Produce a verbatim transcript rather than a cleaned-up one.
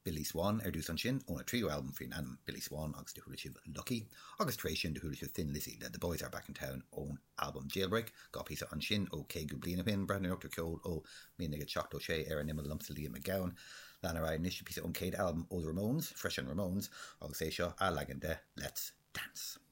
Billy Swan ar dtús ansin óna tríú albam faoin ainm Billy Swan agus do chuala sibh Lucky, agus tar éis sin do chuala sibh Thin Lizzy le The Boys Are Back in Town ón albam Jailbreak, dhá phíosa ansin ó caoga bliain ó shin, breathnú ar ceol ó míle naoi gcéad seachtó sé ar an imeall liomsa Liam Mac Gabhann. Lean ar aghaidh anois píosa ón chéad albam ó The Ramones, freisin Ramones, agus é seo a leagan de Let's Dance.